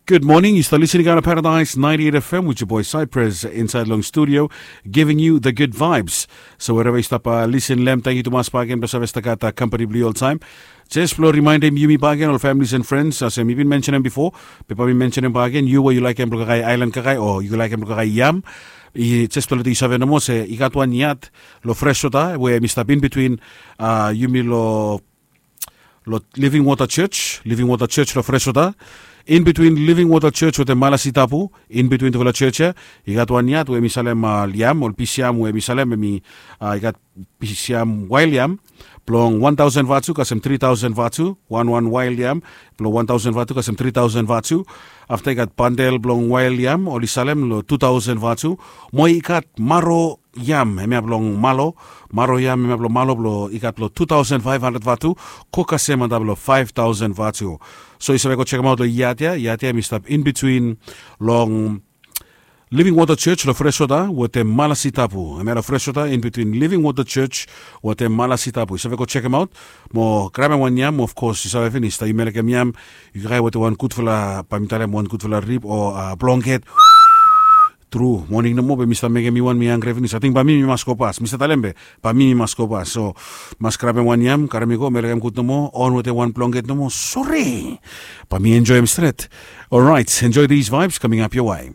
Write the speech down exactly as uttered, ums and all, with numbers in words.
Good morning. Yu stap listening on Paradise ninety-eight F M with your boy Cypress inside long studio, giving you the good vibes. So wherever yu stap uh, listen lem, thank you tumas bagen blong save stap gat uh, company blong yu all time. Just blong remindem yumi bagen, all families and friends, as mi bin mentionem before, pepa mi mentionem bagen, yu we yu like em blong kakai island kakai, or yu like em blong kakai yam. I just blong yu save nomo se i gat wan yat lo Freshwater we mi stap in between uh, yumi lo lo Living Water Church, Living Water Church lo Freshwater. In between Living Water Church wetem Malasi Tapu, in between tufala church ya, i gat wan yat we mi salem uh, yam, ol pisiam we mi salem, mi uh, i gat pisiam wild yam blong one thousand vatu kasem three thousand vatu, wan wan wild yam blong one thousand vatu kasem three thousand vatu. Afta i gat bandel blong wild yam oli salem lo two thousand vatu. Mo i gat maro yam hemia blong malo, maro yam hemia blong malo blong i gat blong two thousand five hundred vatu, ko kasem antap long five thousand vatu. So yu save go chekem aut long yat ya, yat ya mi stap in between long Living Water Church lo Freshwater wetem Malasi Tapu. Hemia lo Freshwater in between Living Water Church wetem Malasi Tapu. Yu save go chekem aut. Mo grabem wan yam, of course yu save finis, taem yu melekem yam, yu kae wetem wan gudfala, bae mi talem, wan gudfala rib o uh, blonget. Tru, moning nomo be mi stap mekem mi wan, mi hangre finis. Ating bae mi mi mas go pas. Mi stap talem be bae mi mi mas go pas. So mas grabem wan yam, karem i go, melekem gud nomo, on wetem wan blonget nomo. Sore, bae mi enjoem stret. Alright, enjoy these vibes coming up your way.